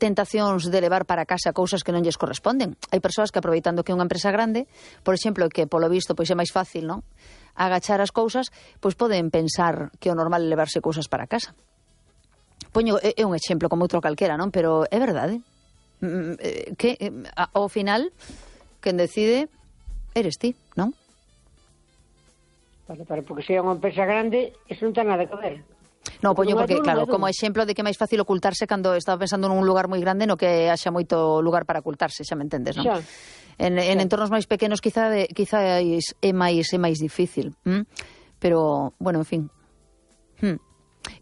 tentacións de levar para casa cousas que non lles corresponden. Hai persoas que, aproveitando que é unha empresa grande, por exemplo, que polo visto pois é máis fácil, non, agachar as cousas, pois poden pensar que o normal é levarse cousas para casa. Poño, é un exemplo como outro calquera, non? Pero é verdade. Que ao final quen decide eres ti, non? Porque se é unha empresa grande, eso non ten nada que ver. No, poño porque, claro, como exemplo de que é máis fácil ocultarse cando estaba pensando nun lugar moi grande no que haxa moito lugar para ocultarse, xa me entendes, non? En entornos máis pequenos quizá é máis difícil. Pero, bueno, en fin.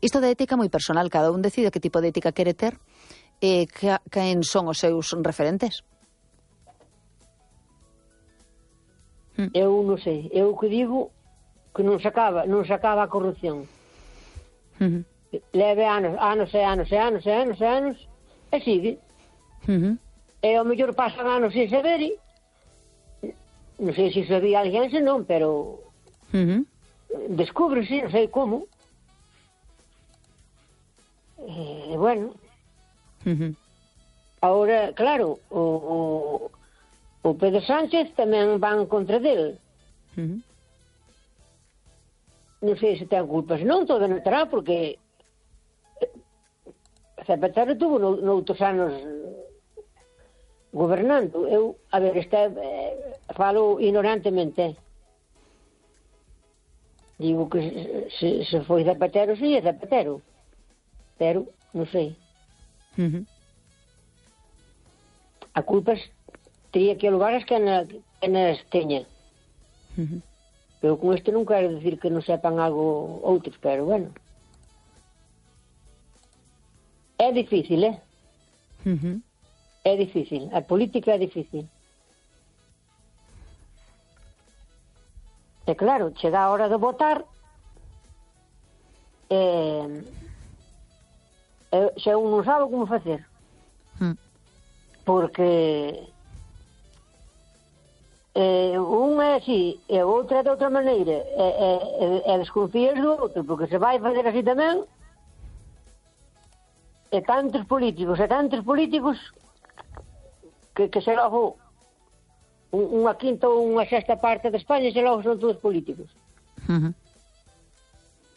Isto da ética é moi personal, cada un decide que tipo de ética quere ter e quen son os seus referentes. Eu non sei, eu que digo que non se acaba a corrupción. Leve anos e sigue. E ao mellor pasan anos sin saber, non sei se sabía alguén, se non, pero descúbrese, non sei como. E bueno, agora, claro, o Pedro Sánchez tamén van contra del. Non sei se ten culpas, non todo non terá, porque Zapatero tuvo noutros anos gobernando. Eu, a ver, falo ignorantemente. Digo que se foi Zapatero, sí, é Zapatero. Pero, non sei. A culpas teria que levar as que nas teña. Pero con isto non quero dicir que non sepan algo outros, pero bueno. É difícil, É difícil. A política é difícil. E claro, chega a hora de votar xa un non sabe como facer. Porque un é así e o outro é de outra maneira e desconfías do outro porque se vai fazer así tamén e tantos políticos que se logo unha quinta ou unha sexta parte de España se logo son todos políticos.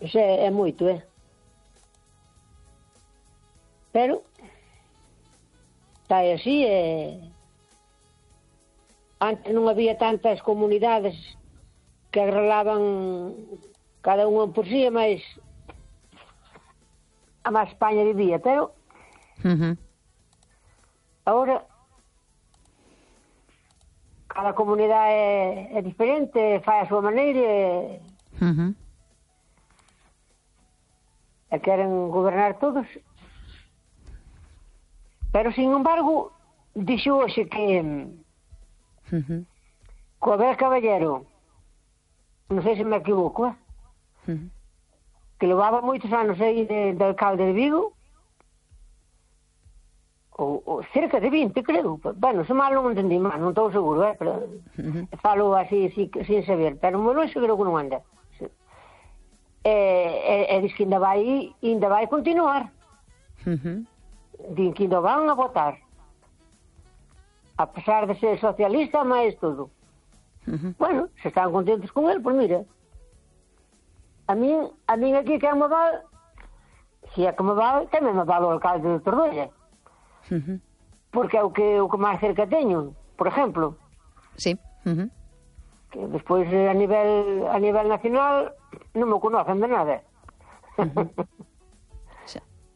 Iso é moito, pero está así antes non había tantas comunidades que arreglaban cada unha por si, mas a máis España vivía, pero agora cada comunidade é diferente, fai a súa maneira e queren gobernar todos. Pero, sin embargo, dixo hoxe que co Abel Caballero, non sei se me equivoco, que levaba moitos anos aí de alcalde de Vigo, ou cerca de 20, creo. Bueno, se mal non entendí mal, non estou seguro, pero falo así sin saber, pero moi longe creo que non anda. E diz que ainda vai continuar. Din que ainda van a votar. A pesar de ser socialista, máis todo. Bueno, se están contentos con él, pois mira. A min aquí que me val, se é que me val, tamén me val o alcalde de Tordolla. Porque é o que máis cerca teño, por exemplo. Sí. Que despois a nivel nacional non me conocen de nada.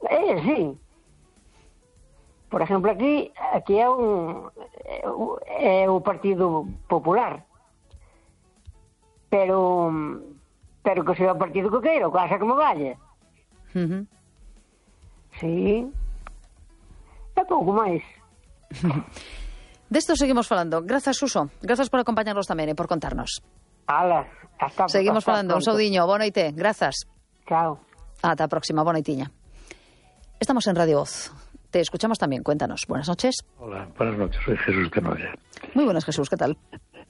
É así. Por exemplo, aquí é o Partido Popular. Pero que sea o partido que queira, o que haxa que me vaya. Sí. É pouco máis. Desto seguimos falando. Grazas, Suso. Grazas por acompañarnos tamén e por contarnos. Ala, hasta seguimos falando. Pronto. Un saudiño. Boa noite. Grazas. Chao. Ata a próxima. Boa noitiña. Estamos en Radio Voz. Te escuchamos también. Cuéntanos. Buenas noches. Hola, buenas noches. Soy Jesús Canoya. Muy buenas, Jesús. ¿Qué tal?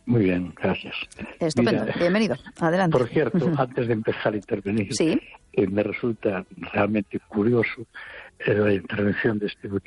Muy bien, gracias. Estupendo. Mira, bienvenido. Adelante. Por cierto, antes de empezar a intervenir, ¿sí? Me resulta realmente curioso la intervención de este